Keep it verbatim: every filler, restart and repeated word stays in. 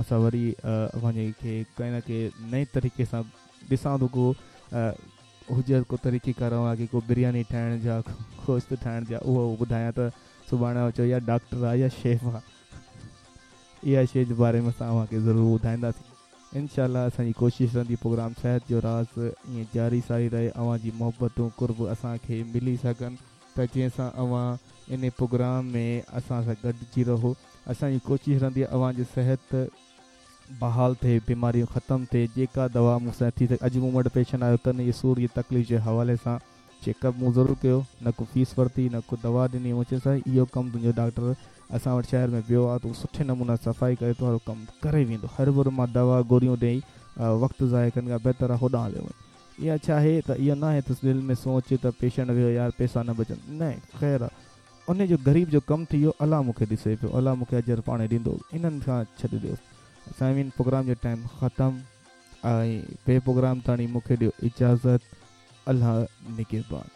اسان وري اوهان جي کي ڪنهن نه ڪنهن نئين طريقي سان ڏسان ٿو، ڪو هجي ڪو طريقيڪار اوهان کي ڪو برياني ٺاهڻ جا، گوشت ٺاهڻ جا، اهو ٻڌايان ته سڀاڻي چئو يا ڊاڪٽر آهي يا شيف آهي. اها شيء جي باري ۾ اسان اوهان کي ضرور ٻڌائينداسين انشاء الله. اسان جي ڪوشش رهندي پروگرام صحت جو راز ائين جاري ساري رهي، اوهان جي محبتون قرب اسان کي ملي سگهن ته جنهن سان اوهان ان پروگرام ۾ اسان سان گڏجي رهو. اسان جي ڪوشش رهندي اوهان جي صحت بحال ٿئي، بيماريون ختم ٿئي، جيڪا دوا مون سان ٿي سگهي. اڄ مون وٽ پيشنٽ آيو ڪن جي سور جي تڪليف جي حوالي سان، چيڪ اپ مون ضرور ڪيو، نه ڪو فيس ورتي نه ڪو دوا ڏني. مون چيو سائين اهو ڪم تنهنجو ڊاڪٽر اسان وٽ شهر ۾ ٻيو آهي، تون سٺي نموني صفائي ڪري تنهنجو ڪم ڪري ويندو. هر ڀر مان دوا گوريون ڏيئي وقت ضايع ڪرڻ کان بهتر آهي هوڏانهن هليو وڃ. اها ڇا آهي ته اهو نه آهي ته دل ۾ سوچ ته پيشنٽ ويو يار پئسا نه بچن، نه خير آهي، ان جو غريب جو ڪم ٿي ويو، الله مون کي ڏسي پيو، الله مون کي اجر پاڻي ڏيندو، انهن کان ڇڏي ڏيو. سامعين پروگرام جو ٽائيم ختم ۽ ٻئي پروگرام تاڻي مون کي ڏيو اجازت. الله نگهبان.